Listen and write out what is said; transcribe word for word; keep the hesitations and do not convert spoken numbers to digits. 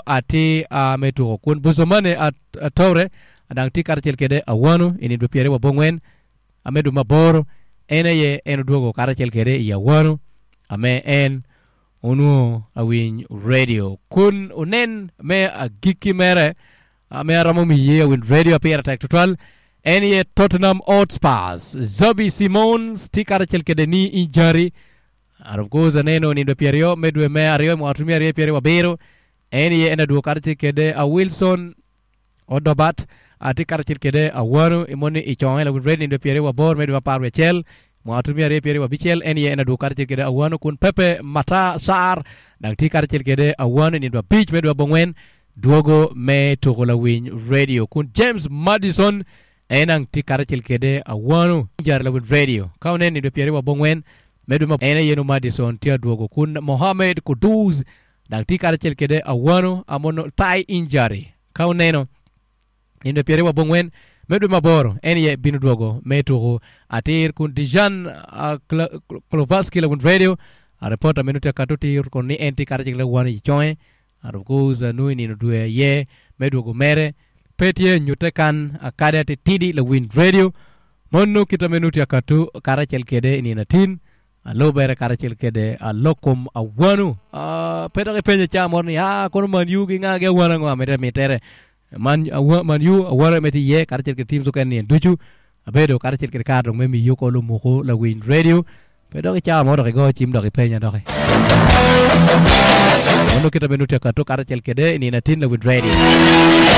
ati uh, me tuko kun Buzomane at Toure adang ti karacel kede awanu ini dwe pyeri wa bongwen ame dwe maboro en aye en odwogo karacel kede i awanu ame en onwo awiny radio kun onen me agikki mere ame aromo miye awiny radio apira tek tutwal en ye Tottenham Hotspurs Xavi Simons ti karacel kede ni injury and of course aneno ni dwe pyeryo me dwe me aryo mwaka tumi aryo pyeryo abiro en ye en adwogo karacel kede a Wilson Odobat ati karacel kede awanu imoni i conge la radio ni dwe pyeryo aboro me dwe apar wiye acel mwaka tumi aryo pyeryo abicel en ye en adwogo karacel kede awanu kun Pepe Mata Sar dang ti karacel kede awanu ni dwe abic me dwe abongwen dwogo me tuko lawiny radio kun James Madison en ang ti karacel kede awanu jar lawiny radio ka onen ni dwe pyeryo abongwen me dwe ma en aye no Madison ti adwogo kun Mohamed Kudus dang ti karacel kede awanu amono thigh injury ka oneno ni dwe pyeryo abongwen me dwe maboro en ye bino dwogo me tuko atir kun Dijan uh, Klovaski lawiny radio a reporter meno tye kato tir kun ni en ti karacel kede awanu i conge and of course uh, nui nino dwe ye me dwogo mere pe tye nyute kan akade atitidi lawiny radio mono kita meno tye katu karacel kede nino atin alubere karacel kede alokom awanu uh, pe dok ipenyo ca moro ni ah kono Man U gi nga gi awanu ango amite mitere Man awa, Man U awanu me tye iye karacel kede teams okene nien ducu abedo karacel kede kar dong me miyo ko lumuku lawiny radio pe dok icawa mo dok igo cim dok ipenya doki mono kita meno tye katu karacel kede nino atin lawiny radio.